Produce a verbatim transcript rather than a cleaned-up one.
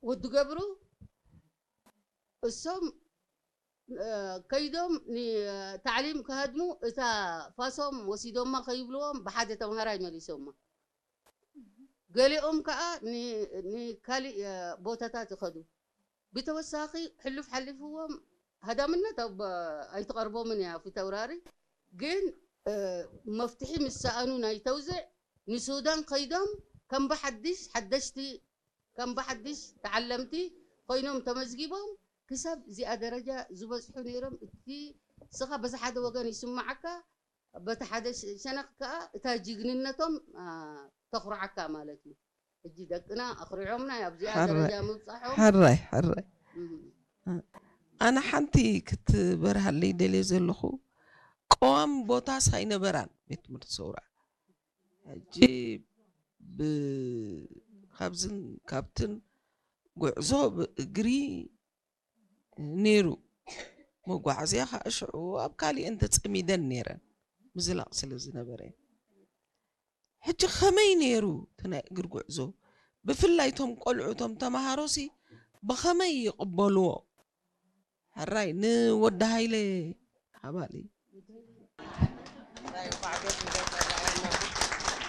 ወድ ገብሩ እሶም፣ እ፣ ከይዶም ኒ-፣ ታዕሊም ከሀድሙ እታ ፋሶም ወሲዶማ ከይብልዎም ብሓደ ተምሃራይ መሊሶማ። ገሌኦም ከኣ ኒ-፣ ኒካሊእ፣ እ፣ ቦታታት ይኸዱ። ብተወሳኺ ሕሉፍ ሓሊፍዎም ሀዳምነት ኣብ ኣይትቐርቦምን እያ ፊተውራሪ። ግን፣ እ፣ መፍትሒ ምስ ሰኣኑ ናይ ተውዜዕ ንሱዳን ከይዶም ከም ብሓድሽ ሓደሽቲ ከም ብሓድሽ ተዓለምቲ ኮይኖም ተመዝጊቦም ክሳብ እዚኣ ደረጃ ዝበጽሑ ነይሮም። እቲ ስኻ በዚ ሓደ ወገን ይስመዓካ፣ በቲ ሓደ ሸ-፣ ሸነኽ ከኣ እታ ጅግንነቶም፣ አ፣ ተኹርዓካ ማለት እዩ። ሕጂ ደቅና ኣኹሪዖምና ኣብዚኣ ሕራይ፣ ደረጃ ምብጻሖም። ሕራይ፣ ሕራይ። እም። አ-፣ ኣነ ሓንቲ ክትበርሃለይ ደልየ ዘለኹ፣ ቀዋሚ ቦታስ ኣይነበራን ቤት ትምህርቲ ሰውራ። ሕጂ ብ-፣ ካብዝን ካብትን ጉዕዞ ብእግሪ ነይሩ። መጓዓዝያ ኸኣ ሽዑ ኣብ ካሊእን ተጸሚደን ነይረን፣ ምዝላቕ ስለ ዝነበረ። ሕጂ ኸመይ ነይሩ እቲ ናይ እግር ጉዕዞ? ብፍላይ እቶም ቆልዑ፣ እቶም ተመሃሮሲ ብኸመይ ይቕበልዎ? ሕራይ ንወዲ ሃይለ ሃባሊ።